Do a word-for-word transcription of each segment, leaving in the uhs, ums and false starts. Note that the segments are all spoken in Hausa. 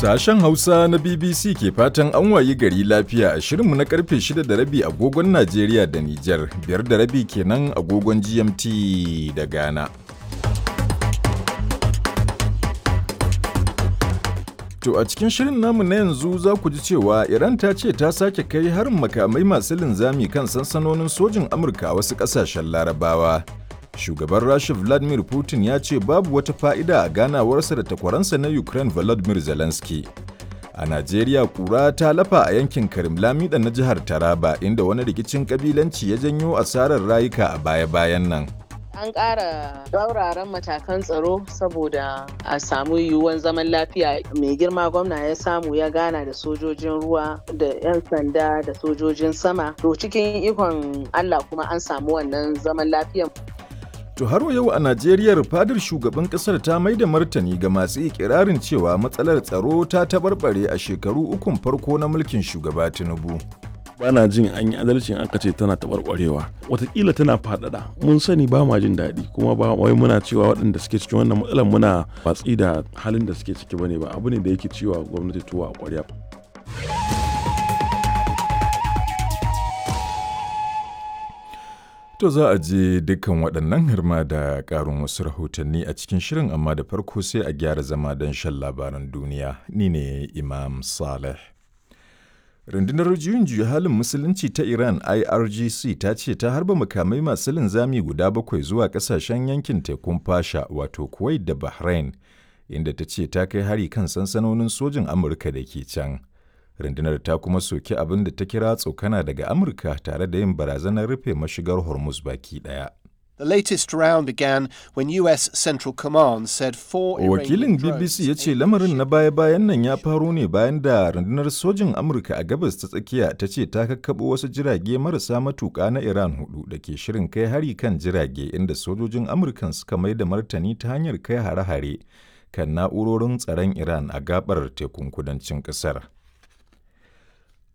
Sashen Hausa na B B C ke fatan an wayi gari lafiya a shirinmu na karfe shida da rabi agogon Najeriya da Nijar, biyar da rabi kenan agogon G M T da Ghana. To a cikin shirin namu na yanzu za ku ji cewa Iran ta ce ta sake kai harin makamai masu linzami kan sansanonin sojin Amurka a wasu ƙasashen Larabawa. Shugaban Rasha Vladimir Putin ya ce babu wata fa'ida a ganawarsa da takwaransa na Ukraine Volodymyr Zelensky. A Najeriya, kura ta lafa a yankin Karim Lamida na jihar Taraba, inda wani rikicin kabilanci ya janyo asarar rayuka a baya-bayan nan. An ƙara tsauraran matakan tsaro saboda a samu yiwuwan zaman lafiya. Mai girma gwamna ya samu ya gana da sojojin ruwa da 'yan sanda da sojojin sama. To cikin ikon Allah kuma an samu wannan zaman lafiyan. To har yau a Najeriya, fadar shugaban kasar ta mai da martani ga masu ikirarin cewa matsalar tsaro ta tabarbare a shekaru ukun farko na mulkin shugaba Tinubu. Bana jin an yi adalcin aka ce tana taɓarɓarewa, watakila tana faɗaɗa. Mun sani ba ma jin daɗi, kuma ba wai muna cewa waɗanda suke cikin wannan matsalar muna watsi da halin da suke ciki bane ba. Abu ne da yake cewa gwamnati tuwa a ƙwarya. To za a je dukkan waɗannan hirma da ƙarin wasu rahotanni a cikin shirin, amma da farko sai a gyara zama don shan labaran duniya. Ni ne Imam Saleh. Rundunar juyin juya halin musulunci ta Iran I R G C ta ce ta harba makamai masu linzami guda bakwai zuwa kasashen yankin tekun Fasha, wato Kuwait da Bahrain, inda ta ce ta kai hari kan sansanonin sojin Amurka da ke can. Rundunar ta kuma soki abin da ta kira tsokana daga Amurka tare da yin barazanar rufe mashigar Hormuz baki ɗaya. The latest round began when U S Central Command said four Wakilin B B C ya ce lamarin na baya-bayan nan ya faro ne bayan da rundunar sojin Amurka a Gabas ta Tsakiya ta ce ta kakkaɓo wasu jirage marasa matuƙa na Iran hudu da ke shirin kai hari kan jirage, inda sojojin Amurkan suka mai da martani ta hanyar kai hare-hare kan na'urorin tsaron Iran a gabar tekun kudancin ƙasar.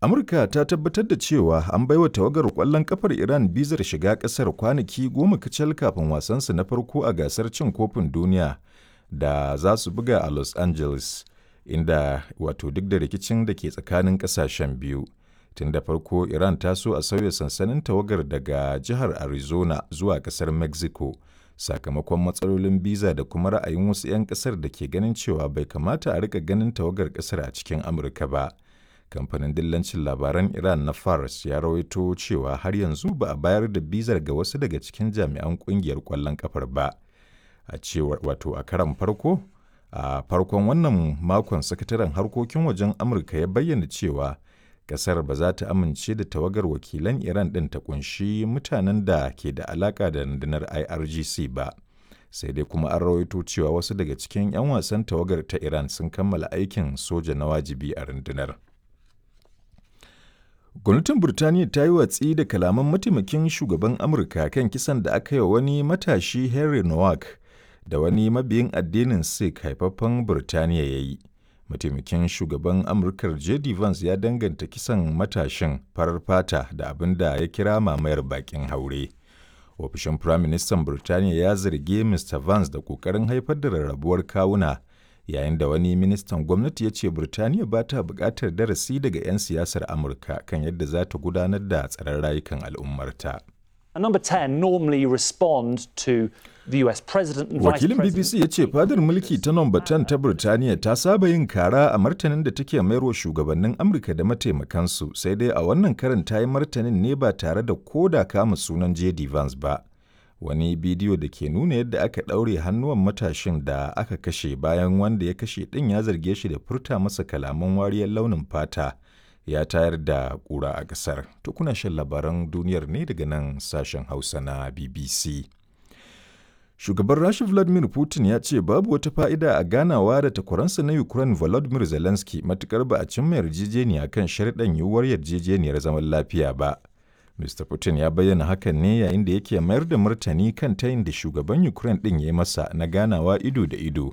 Amurka ta tabbatar da cewa an baiwa tawagar ƙwallon kafar Iran bizar shiga ƙasar kwanaki goma kacal kafin wasansu na farko a gasar cin kofin duniya da za su buga a Los Angeles, inda wato duk da rikicin da ke tsakanin ƙasashen biyu. Tun da farko Iran ta so a sauya sansanin tawagar daga jihar Arizona zuwa ƙasar Mexico, sakamakon matsalolin biza da kuma ra'ayin wasu 'yan ƙasar da ke ganin cewa bai kamata a rika ganin tawagar ƙasar a cikin Amurka ba. Kamfanin dillancin labaran Iran na Fars ya rawaito cewa har yanzu ba a bayar da bizar ga wasu daga cikin jami'an kungiyar kwallon kafar ba. A cewar wato a karan farko a farkon wannan makon, sakataren harkokin wajen Amurka ya bayyana cewa kasar ba za ta amince da tawagar wakilan Iran din ta kunshi mutanen da ke da alaka da rundunar I R G C ba. Sai dai kuma an rawaito cewa wasu daga cikin 'yan wasan tawagar ta Iran sun kammala aikin soja na wajibi a rundunar. Gwamnatin Burtaniya ta yi watsi da kalaman mataimakin shugaban Amurka kan kisan da aka yi wa wani matashi Henry Nowak da wani mabiyin addinin Sikh haifaffen Burtaniya ya yi. Mataimakin shugaban Amurkar J D. Vance ya danganta kisan matashin farar fata da abin da ya kira mamayar bakin haure. Ofishin Firaministan Burtaniya ya zargi Mister Vance da ƙoƙarin haifar da rarrabuwar kawuna, yayin da wani ministan gwamnati ya ce Birtaniya ba ta buƙatar darasi daga 'yan siyasar Amurka kan yadda za ta gudanar da tsaron rayukan al'ummarta. And number ten normally respond to the U S president and vice Wakilin president. B B C ya ce fadar mulki ta Nomba ten ta Birtaniya ta saba yin kara a martanin da take mayarwa shugabannin Amurka da mataimakansu, sai dai a wannan karin ta yi martanin ne ba tare da koda kama sunan J D. Vance ba. Wani bidiyo da ke nuna yadda aka ɗaure hannuwan matashin da aka kashe bayan wanda ya kashe ɗin ya zarge shi da furta masa kalaman wariyar launin fata ya tayar da ƙura a ƙasar. To kuna shan labaran duniyar ne daga nan sashen Hausa na B B C. Shugaban Rasha Vladimir Putin ya ce babu wata fa'ida a ganawa da takwaransa na Ukraine Volodymyr Zelensky matukar ba a cimma yarjejeniya kan sharɗan yiwuwar yarjejeniyar zaman lafiya ba. Mister Putin ya bayyana hakan ne yayin da yake mayar da martani kan tayin da shugaban Ukraine ɗin ya yi masa na ganawa ido da ido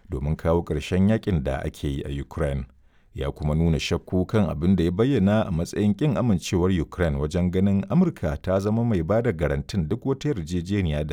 domin kawo ƙarshen yakin da ake yi a Ukraine. Ya kuma nuna shakku kan abin da ya bayyana a matsayin ƙin amincewar Ukraine wajen ganin Amurka ta zama mai ba da garantin duk wata yarjejeniya da